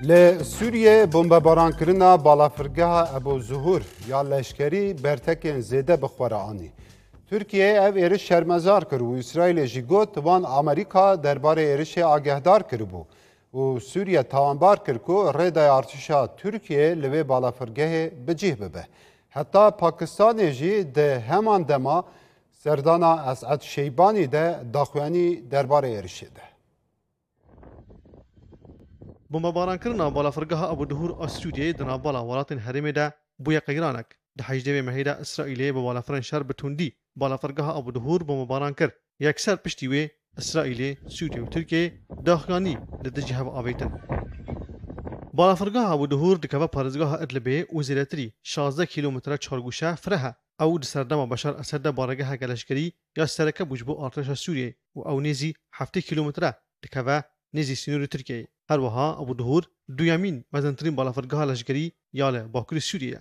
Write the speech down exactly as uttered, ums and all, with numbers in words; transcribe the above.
Li Sûriyê bombebarankirina balafirgeha Ebu Zuhur ya leşkerî bertekên zêde bi xwe re anî. Tirkiye ev êriş şermezar kir û Îsraîlê jî got, wan Amerîka derbarê êrişê agehdar kiribû û Sûriye tawanbar kir ku rêdaya artêşa Tirkiye li wê balafirgehê bi cih bibe. Heta Pakistanê jî di heman dema serdana Esed Şeybanî de daxuyanî derbarê êrişê de. Bombebarankirina balafirgeha Abu Duhur a Sûriyeyê di navbala welatên herêmê de bûye qeyranek. Di hejdê mehê de Îsraîlê bi balafirên şer bi tundî balafirgeha Abu Duhur bombebaran kir. Yekser piştî wê Îsraîlê, Sûriye û Tirkiyeyê daxuyanî li dijî hev avêtin. Balafirgeha Abu Duhur dikeve parêzgeha Idlibê û zêdetirî şazdeh kîlometre çargûşe fireh e. Ew di serdema Beşar Esed de baregeheke leşkerî ya sereke bû ji bo artêşa Sûriyeyê û ew nêzî heftê kîlometre dikeve nêzî sînorê Tirkiyeyê. Her wiha Abu Duhur duyemîn mezintirîn balafirgeha leşkerî ya li bakurê Sûriyê ye.